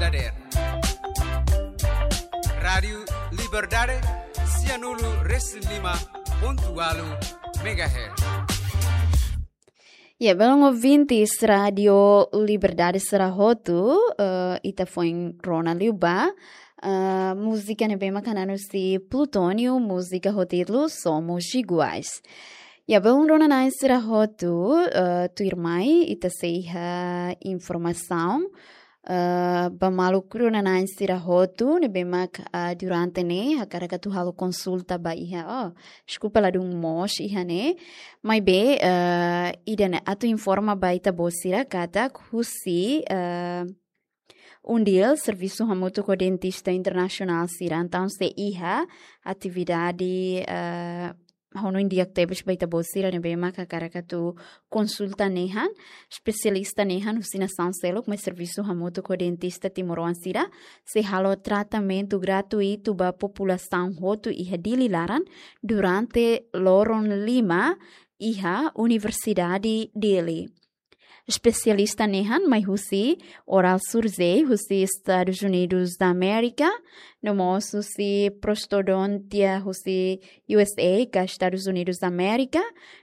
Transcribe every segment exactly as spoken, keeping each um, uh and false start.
Dader. Rádiu Liberdade, sianulu resin lima pontu ualu megahertz. Ya, belun ouvintes Rádiu Liberdade sira hotu, eh, ita foin rona liu ba, eh, múzika ne'ebé mak hanesan husi Plutónio, múzika ho títulu Somos Iguais. Ya, belun rona-na'in sira hotu, eh, tuirmai, ita sei iha informasaun, eh, ba maluk rona-na'in sira hotu, ne'ebé mak, eh, durante ne'e, hakarak atu halo konsulta ba iha, oh, deskulpa ladún moos iha ne'e, maibé, eh, ida-ne'e atu informa ba ita-boot sira katak husi, eh, UNDIL, Servisu Hamutuk ho Dentista Internasionál sira, entaun sei iha atividade, eh, ha'u hanoin di'ak tebes ba ita-boot sira ne'ebé mak hakarak atu konsulta nehan, espesialista nehan husi nasaun seluk mai Servisu Hamutuk ho Dentista Timoroan sira, sei halo tratamentu gratuitu ba populasaun hotu iha Dili laran durante loron lima iha Universidade Dili. Espesialista nehan mai husi oral surgery husi Estados Unidos da América, no mós husi prostodontia husi U S A ka Estados Unidos da América,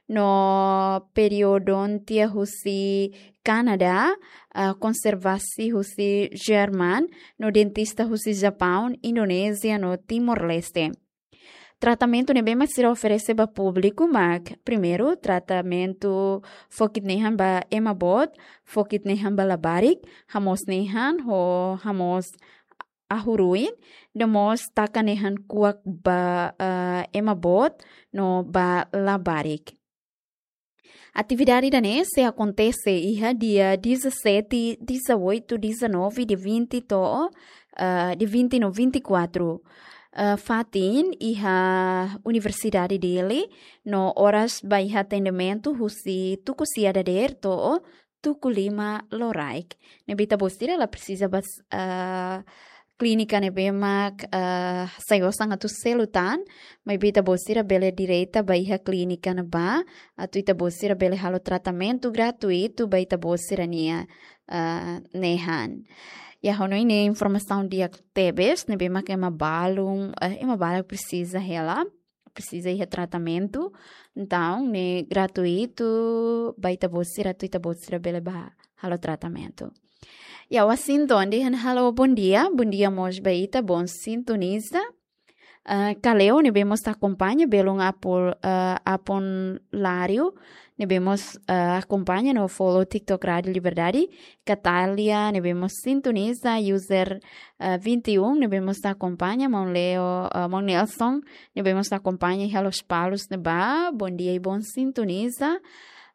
no periodontia husi Canadá, ah, konservasi husi Jerman, no dentista husi Japaun, Indonézia no Timor-Leste. Tratamentu ne'ebé mak sira oferese ba públiku mak, primeiru, tratamentu fokit nehan ba ema boot, fokit nehan ba labarik, hamoos nehan ho hamoos ahu-ruin, no mós taka nehan kuak ba, eh, ema boot no ba labarik. Atividade ida-ne'e sei akontese iha dia dezassete, dezoito, dezanove, dia vinte to'o, eh, dia vinte no vinte e quatro. Eh, fatin iha Universidade Dili, no oras ba iha atendimentu husi tuku sia dadeer to'o tuku lima loraik. Ne'ebé ita-boot sira la presiza ba, eh, klínika ne'ebé mak, eh, sai osan atu selu tan, maibé ita-boot sira bele direta ba iha klínika ne'ebá, atu ita-boot sira bele halo tratamentu gratuitu ba ita-boot sira-nia, eh, nehan. Ya, ha'u hanoin ne'e informasaun di'ak tebes, ne'ebé mak ema balun, eh, ema balun presiza hela, presiza iha tratamentu, entaun ne'e gratuitu, ba ita-boot sira, atu ita-boot sira bele ba halo tratamentu. Ya, Washington dehan halo bondia, bondia mós ba ita, bom sintoniza. Ah, Kaleo ne'ebé mós akompaña, belun Apol, ah, Apon Lário, ne'ebé mós, ah, akompaña no follow TikTok Rádiu Liberdade. Katália ne'ebé mós sintoniza, user, ah, vinte e um ne'ebé mós akompaña, maun Leo, ah, maun Nelson ne'ebé mós akompaña iha Lospalos ne'ebá, bondia i bom sintoniza.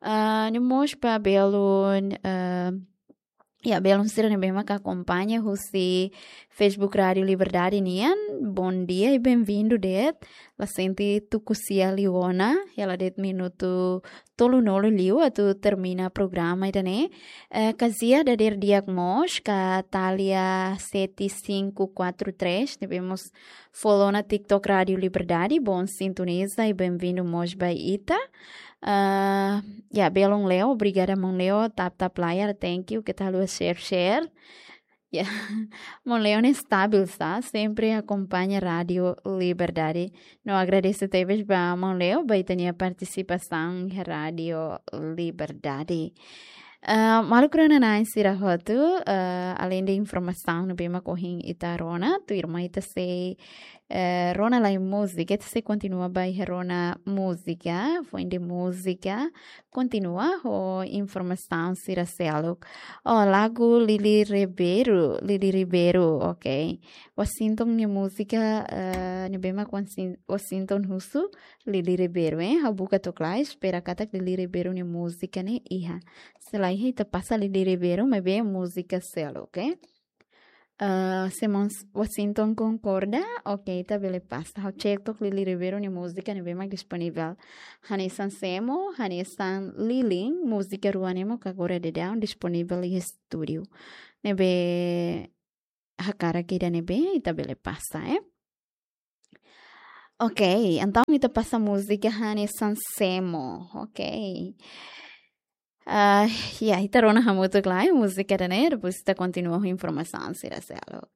Ah, no mós ba belun, ah, ya, belun sira ne'ebé mak akompaña husi Facebook Rádiu Liberdade nian, bondia i benvindu de'it. La sente tuku sia liu ona, hela de'it minutu tolunulu liu atu termina programa ida-ne'e. Eh, kazia dadeer di'ak mós, Katália sete cinco quatro três, ne'ebé mós follow ona TikTok Rádiu Liberdade, bom sintoniza i benvindu mós ba ita. Ah, ya, belun Leo, obrigada maun Leo, tap tap layar, thank you, keta haluha share share. Ya, maun Leo ne'e stabil, sá, sempre akompaña Rádiu Liberdade. No agradese tebes ba maun Leo, ba ita-nia partisipasaun iha Rádiu Liberdade. Ah, maluk rona-na'in sira hotu, ah, alende informasaun ne'ebé mak ohin ita rona, tuirmai ita sei, eh, rona lai múzika, ita sei kontinua ba iha rona múzika, foin de múzika, kontinua ho informasaun sira seluk. Oh, lagu Lili Ribeiro, Lili Ribeiro, ok. Washington nia múzika, eh, ne'ebé mak Wasin-, Washington husu, Lili Ribeiro, eh. Ha'u buka to'ok lai, espera katak Lili Ribeiro nia múzika ne'e iha. Se la iha ita pasa Lili Ribeiro, maibé múzika seluk, ok. Ah, se maun Washington konkorda, ok, ita bele pasa. Ha'u cek to'ok Lili Ribeiro nia múzika ne'ebé mak disponivel. Hanesan Semo, hanesan Lilin, múzika rua ne'e mós agora daudaun disponivel iha estúdiu. Ne'ebé hakarak ida ne'ebé, ita bele pasa, eh. Ok, entaun ita pasa múzika hanesan Semo, ok. Ah, ya, ita rona hamutuk lai múzika ida-ne'e, depois ita kontinua ho informasaun sira seluk.